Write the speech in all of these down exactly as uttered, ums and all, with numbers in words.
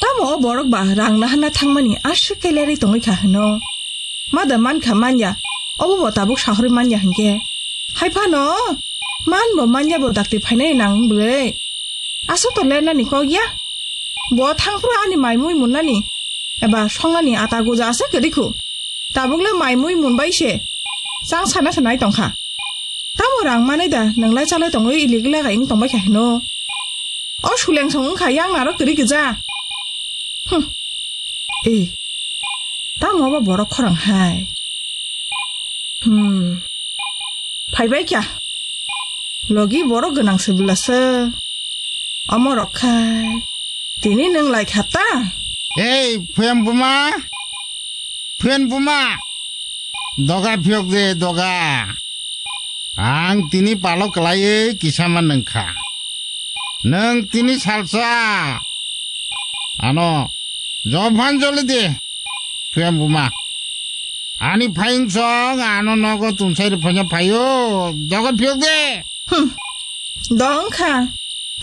Tamo o borok ba rang naharna thangmani aswk kailairwi tongwi kha hwno. Mada mankha manya, obo bo tabuk sahorwi manya hinkhe. Hai phano man bo manya bo dakti phainai nang bwlwi. Aswk to lernani kok ya. Bo thangphru ani mai mui munnani eba songnani ata guja aswk kwrwi khu. Tabukle mai mui munbai se. Chang sana sanai tongkha. Tamo rang manai da, nwnglai chalai tongwi ilik lagai wng tongbai kha hino. O suleng song wngkha, yang naro kwrwi gwja. Hmm. Ei, tamo obo borok khorang hai. Hmm. Phaibai kha. Logi borok gwnang se bwlasa. Omo rok khai. Tini nwng lai kha ta? Ei, Phuyan buma. Phuyan buma. Doga phiyok de, doga. Ang tini palo kwlaiwi kisa ma nwng kha. Nwng tini salsa. Ano, jophan joli de. Phuyan buma. Ani phaiyung song ano nogo tumsai rw phaina phaio. Doga phiyok de. Hmm. Dong kha.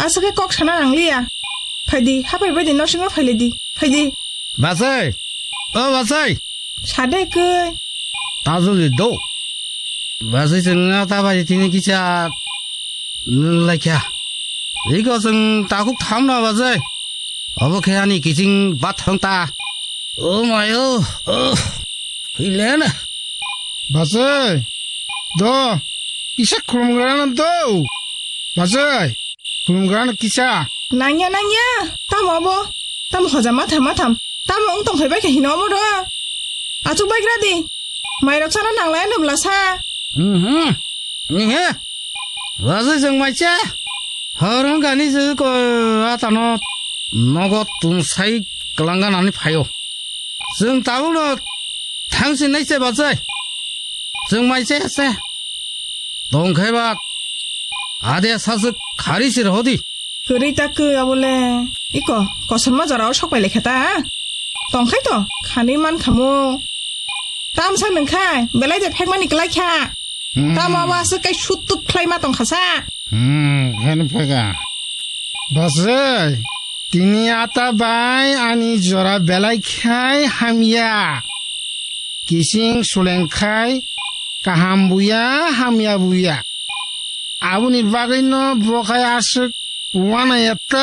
Aswk khe kok sana nangliya. Phaidi, hapai baidi nosingo phailedi. Phaidi. Basai. O basai. Sade koi. Tajuli do. Basai sengna ta bai tini kisa nwng laikha. Iko seng takuk thamna basai. Obo khe ani kiching bathang ta. O mayo. O. Hilena. Basai. Do. Kisa khulumgrana do. Basai. Khulumgrana kisa. Nangya, nangya. Tamo abo. Tamo hoja matham, matham. Tamo wng tong phaibai khe hino omo do. Achuk bai gra di. Mairok sana nanglai nubla sa. Mhm. Ihe. Wazai jeng maicha. Horong gani je ko atano nogo tumsai kelangan ani phaio. Jeng tabuk no thangsi nai se bachai. Jeng maicha se. Tongkhai ba. Ade sasuk khari sir hodi. Kwrwi ta khe abole. Iko, kosorma jorao sok pai lekha ta, ha? Tongkhai to, khanwi man khamu. Tamsa nwngkhai, belai de phekmani kwlai kha. Hmm. Tamo abo aswk kai sut tut khlai ma tongkha sa. Hmm, khen phega. Basai, tini ata bai ani jora belai khai hamya. Kising suleng khai kaham buya, hamya buya. Aboni bagwi no bo khai aswk wana ya ta.